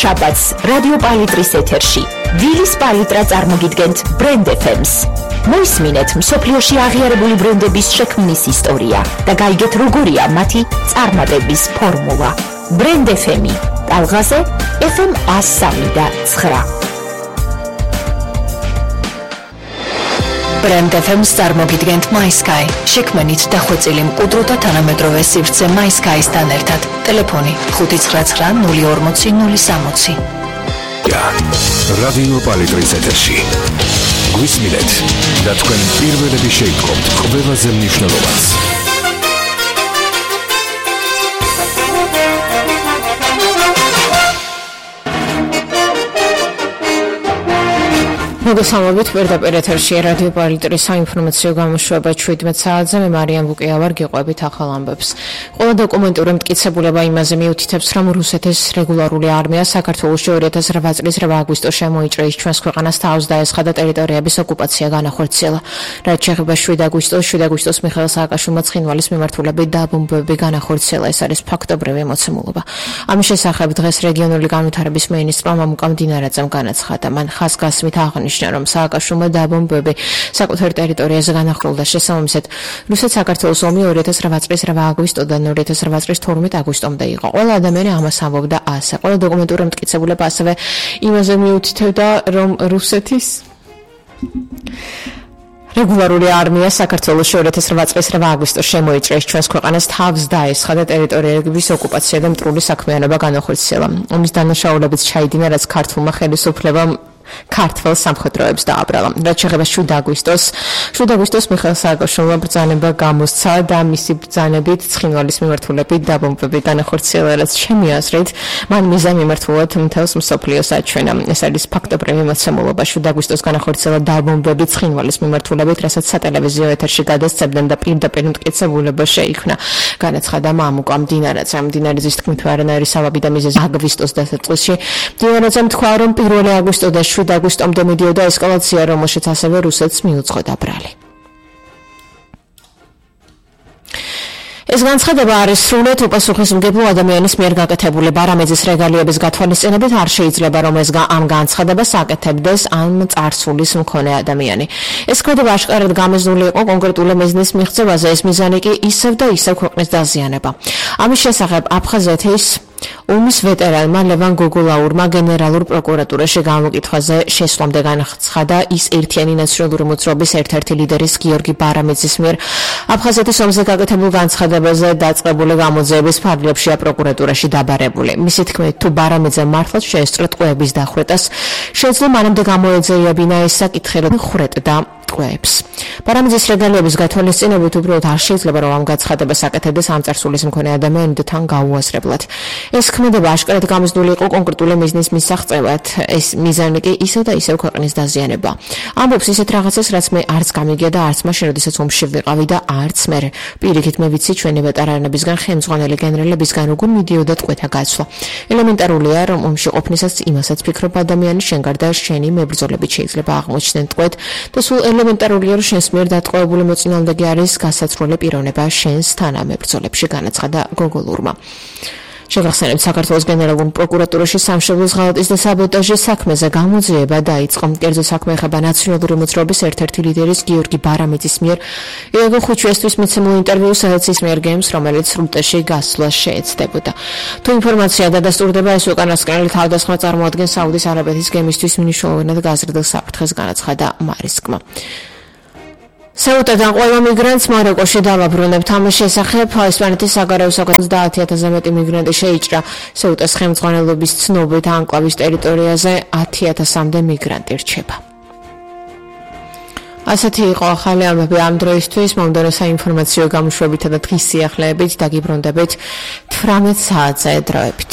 შაბათს რადიო პალიტრის ეთერში ვილის პალიტრა წარმოგიდგენთ ბრენდ FM-ს. მოისმინეთ მსოფლიოში აღიარებული ბრენდების შექმნის ისტორია და გაიგეთ როგორია მათი წარმატების ფორმულა. ბრენდ FM-ი ტალღაზე FM 103.9. ბრენდ FM-ს წარმოგიდგენთ MySky. შექმნით დახვეწილი მყუდრო და თანამედროვე სივრცე MySky-სთან ერთად. ტელეფონი 599-40-060. რადიო პალიტრის ეთერში. გვისმინეთ და თქვენ პირველები შეიტყობთ ყველაზე მნიშვნელოვანს. მოგესალმებით პირდაპირ ეთერში რადიო პალიტრის საინფორმაციო გამოშვება 17 საათზე. მე მარიამ ბუკია ვარ, გიყვებით ახალ ამბებს. ყველა დოკუმენტური მტკიცებულება იმაზე მიუთითებს, რომ რუსეთის რეგულარული არმია საქართველოში 2008 წლის 8 აგვისტოს შემოიჭრა ის ჩვენს ქვეყანას თავს დაესხა და ტერიტორიების ოკუპაცია განახორციელა. რაც შეეხება 7 აგვისტოს მიხეილ სააკაშვილმა ცხინვალის მიმართულებით დაბომბვები განახორციელა. ეს არის ფაქტობრივი მოცემულობა. ამის შესახებ დღეს რეგიონული განვითარების მინისტრმა მამუკა მდინარაძემ განაცხადა. მან ხაზგასმით აღნიშნა, რომ სააკაშვილმა დაბომბვები საკუთარ ტერიტორიაზე განახორციელა. შესაბამისად, რუსეთ-საქართველოს ომი 2008 წლის 8 აგვისტოდან 2008 წლის 12 აგვისტომდე იყო. ყველა ადამიანი ამას ამბობდა ასე. ყველა დოკუმენტური მტკიცებულება ასევე იმაზე მიუთითებდა, რომ რუსეთის რეგულარული არმია საქართველოში 2008 წლის 8 აგვისტოს შემოიჭრა ის ჩვენს ქვეყანას თავს დაესხა და ტერიტორიების ოკუპაცია და მტრული საქმიანობა განახორციელა. ომის დანაშაულებიც ჩაიდინა, რაც ქართულმა ხელისუფლებამ ქართულ სამხედროებს დააბრალა. რაც შეეხება 7 აგვისტოს მიხეილ სააკაშვილმა ბრძანება გამოსცა და მისი ბრძანებით ცხინვალის მიმართულებით დაბომბვები განახორციელა, რაც ჩემი აზრით მან მიზა მიმართულად მთელს მსოფლიოს აჩვენა. ეს არის ფაქტობრივი მოცემულობა. 7 აგვისტოს განახორციელა დაბომბვები ცხინვალის მიმართულებით, რასაც სატელევიზიო ეთერში გადასცემდნენ და პირდაპირ მტკიცებულება შეიქმნა. განაცხადა მამუკა მდინარაძემ. მდინარაძის თქმით, არანაირი სავაბი და მიზეზი აგვისტოს დასაწყისში. მდინარაძემ თქვა, რომ 1 აგვისტო და 7 აგვისტომდე მიდიოდა ესკალაცია, რომელშიც ასევე რუსეთს მიუძღოდა ბრალი. ეს განცხადება არის სრულად უპასუხისმგებლო ადამიანის მიერ გაკეთებული. ბარამეძის რეგალიების გათვალისწინებით არ შეიძლება, რომ ამ განცხადებას აკეთებდეს ამ წარსულის მქონე ადამიანი. ეს ქმედება აშკარად გამიზნული იყო კონკრეტული მიზნის მიღწევაზე, ეს მიზანი კი ისევ და ისევ ქვეყნის დაზიანება. ამის შესახებ აფხაზეთის ომის ვეტერანმა ლევან გოგოლაურმა გენერალურ პროკურატურაში გამოკითხვაზე შესვლამდე განაცხადა ის ერთიანი ნაციონალური მოძრაობის ერთ-ერთი ლიდერის გიორგი ბარამეძის მიერ აფხაზეთის ომზე გაკეთებულ განცხადებაზე დაწყებული გამოძიების ფარგლებშია პროკურატურაში დაბარებული. მისი თქმით, თუ ბარამეძემ მართლაც შეესწრო ტყვეების დახვრეტას, შეძლო მანამდე გამოეძიებინა ეს საკითხი, რომ ხვრეტდა ტყვეებს. ბარამეძის რეგალიების გათვალისწინებით უბრალოდ არ შეიძლება, რომ ამ განცხადებას აკეთებდეს ამ წარსულის მქონე ადამიანი და თან გაუაზრებლად. ეს ქმედება აშკარად გამიზნული იყო კონკრეტული მიზნის მისაღწევად. ეს მიზანი კი ისევ და ისევ ქვეყნის დაზიანება. ამბობს ისეთ რაღაცას, რაც მე არც გამიგია და არც მაშინ, როდესაც ომში ვიყავი და არც მე. პირიქით მე ვიცი ჩვენი ვეტერანებისგან, ხელმძღვანელი გენერალებისგან როგორ მიდიოდა ტყვეთა გაცვლა. ელემენტარულია, რომ ომში ყოფნისას იმასაც ფიქრობ ადამიანი, შენ გარდა შენი მებრძოლებით შეიძლება აღმოჩნდნენ ტყვეთ და სულ ელემენტარულია, რომ შენს მიერ დატყვევებული მოწინააღმდეგე არის გასაცვლელი პიროვნება შენს თანამებრძოლებში, განაცხადა გოგოლურმა. შეგახსენებთ, საქართველოს გენერალურ პროკურატურაში სამშობლოს ღალატის და საბოტაჟის საქმეზე გამოძიება დაიწყო. კერძო საქმე ეხება ნაციონალური მოძრაობის ერთ-ერთი ლიდერის გიორგი ბარამეძის მიერ იოგო ხუჩუესთვის მიცემულ ინტერვიუს, სადაც ის მიერგებს, რომელიც სრუტეში გასვლა შეეცდებოდა. თუ ინფორმაცია დადასტურდება, ეს უკანასკნელი თავდასხმა წარმოადგენს საუდის არაბეთის გემისთვის მნიშვნელოვნად გაზრდილ საფრთხეს, განაცხადა მარისკმა. სეუტიდან ყველა მიგრანტს მაროკოში დავაბრუნებთ. ამის შესახებ ესპანეთის საგარეო საქმეთა 30,000-ზე მეტი მიგრანტი შეიჭრა. სეუტას ხელმძღვანელობის ცნობით ანკლავის ტერიტორიაზე 10,000-მდე მიგრანტი რჩება. ასეთი იყო ახალი ამბები ამ დროისთვის. მომდევნო საინფორმაციო გამოშვებითა და დღის სიახლეებით დაგიბრუნდებით 18 საათზე დროებით.